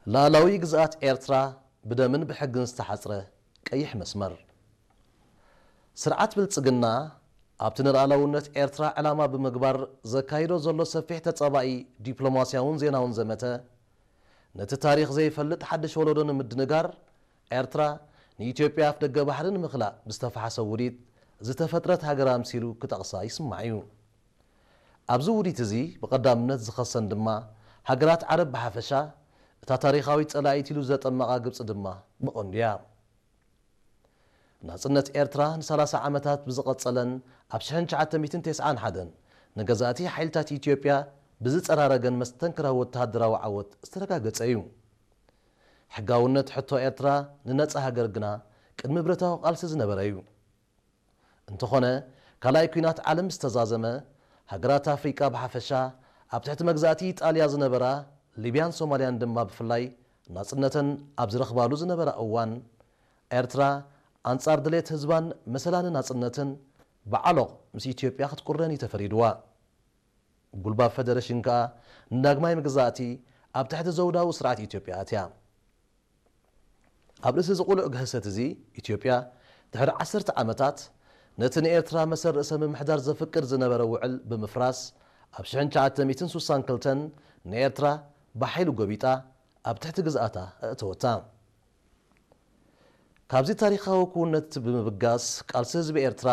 ላዕላዊ ግዝኣት ኤርትራ ብደምን ብሕግን ዝተሓጽረ ቀይሕ መስመር። ስርዓት ብልጽግና ኣብቲ ንልኣላውነት ኤርትራ ዕላማ ብምግባር ዘካይዶ ዘሎ ሰፊሕ ተጻባኢ ዲፕሎማስያውን ዜናውን ዘመተ፣ ነቲ ታሪኽ ዘይፈልጥ ሓድሽ ወለዶ ንምድንጋር፣ ኤርትራ ንኢትዮጵያ ኣፍደገ ባሕሪ ንምኽላእ ብዝተፈሓሰ ውዲት ዝተፈጥረት ሃገር ኣምሲሉ ክጠቕሳ ይስማዕ እዩ። ኣብዚ ውዲት እዚ ብቐዳምነት ዝኸሰን ድማ ሃገራት ዓረብ ብሓፈሻ፣ እታ ታሪኻዊት ጸላኢት ኢሉ ዘጠመቓ ግብጺ ድማ ብቐንዱ እያ። ናጽነት ኤርትራ ንሰላሳ ዓመታት ብዝቐጸለን ኣብ ሽሕን ትሽዓተ ሚእትን ተስዓን ሓደን ንገዛእቲ ሓይልታት ኢትዮጵያ ብዝጸራረገን መስተንክራዊ ወተሃደራዊ ዓወት ዝተረጋገጸ እዩ። ሕጋውነት ሕቶ ኤርትራ ንነጻ ሃገር ግና ቅድሚ ብረታዊ ቃልሲ ዝነበረ እዩ። እንተኾነ፣ ካልኣይ ኲናት ዓለም ዝተዛዘመ፣ ሃገራት ኣፍሪቃ ብሓፈሻ፣ ኣብ ትሕቲ መግዛእቲ ኢጣልያ ዝነበራ ሊብያን ሶማልያን ድማ ብፍላይ ናጽነተን ኣብ ዝረኽባሉ ዝነበራ እዋን፣ ኤርትራ ኣንጻር ድሌት ህዝባን መሰላን ናጽነትን ብዓሎቕ ምስ ኢትዮጵያ ክትቁረን እዩ ተፈሪድዋ። ጉልባብ ፈደረሽን ከኣ ንዳግማይ መግዛእቲ ኣብ ትሕቲ ዘውዳዊ ስርዓት ኢትዮጵያ ኣትያ። ኣብ ርእሲ እዚ ቅሉዕ ግህሰት እዚ፣ ኢትዮጵያ ድሕሪ ዓሰርተ ዓመታት ነቲ ንኤርትራ መሰል ርእሰ ምምሕዳር ዘፍቅድ ዝነበረ ውዕል ብምፍራስ፣ ኣብ ሽሕን ትሽዓተ ሚእትን ስሳን ክልተን ንኤርትራ ብሓይሊ ጎቢጣ ኣብ ትሕቲ ግዝኣታ ኣእተወታ። ካብዚ ታሪኻዊ ክውንነት ብምብጋስ፣ ቃልሲ ህዝቢ ኤርትራ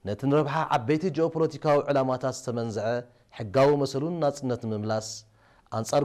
ነቲ ንረብሓ ዓበይቲ ጂኦፖለቲካዊ ዕላማታት ዝተመንዝዐ ሕጋዊ መሰሉን ናጽነት ንምምላስ ኣንጻር